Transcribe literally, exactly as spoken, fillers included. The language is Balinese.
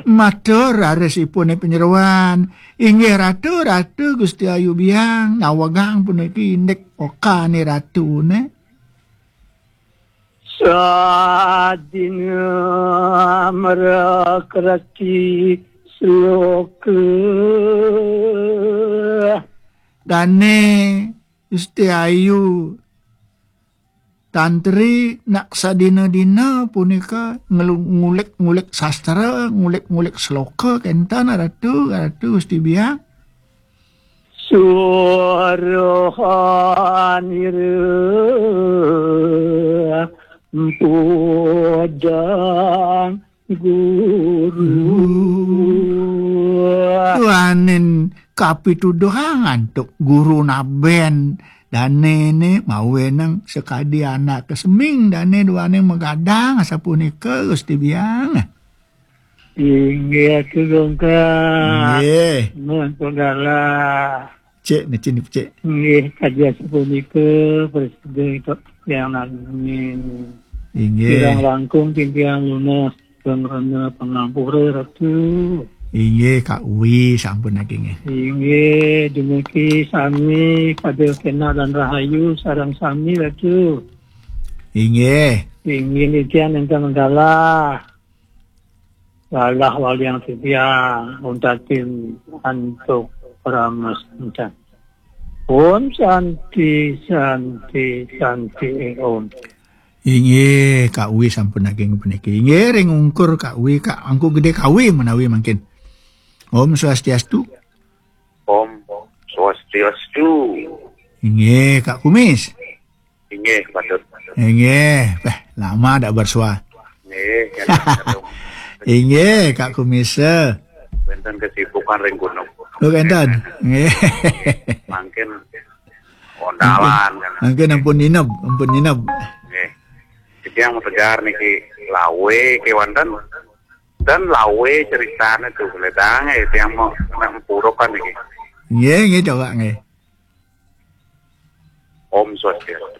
Matur rarisipun panyeroan. Inggih Ratu, Ratu Gusti Ayu Biang, nawegang puniki indik okane ratune. Sadina mrakrati sloka. Dane Gusti Ayu Tantri nak sadina-dina punika ngelu-, ngulik-ngulik sastra, ngulik-ngulik sloka kenten Ratu, Ratu Gusti Biang. Surohanira mpodang guru. Duaning kapituduhang antuk guru naben dane ne mawenang sakadi anak keseming dane duaning magadang asapunika Gusti Biang. Inggih Atu Gongka. Inggih. Nuhun penggalah. Cek, mecin, cek. Inggih, kadi asapunika presiden Tok Yang Nanging. Inggih. Kirang langkung titiang lunas pangranna pangampura Ratu. Inggih, Kak Wi sampun naging. Inggih, dumugi sami pada kena dan rahayu sareng sami Ratu. Inggih. Inggih, titiang ingkang galah. Lalah waliang titiang untatin antuk paramas encan. Om Santi, Santi, Santi, Om. Inggih, Kak Wi sampun naging puniki. Inggih, ring ungkur Kak Wi, Kak Angku Gede Kawi menawi mangkin. Om Swastiastu. Om Swastiastu. Inggih, Kak Kumis. Inggih, patut. Inggih, eh, lama dak bersua. Nggih, nggih. Inggih, Kak Kumis. Wenten kesibukan ring gunung. Oh, enten. Nggih. Mangkin ondalan, kan. Mangkin ampun nineb, ampun nineb. Nggih. Jadi yang tegar niki lawe kewanten dan lawe ceritane tuh ledange yang mau nak empurukan niki. Nggih, nggih, coba nggih. Om Swastiastu.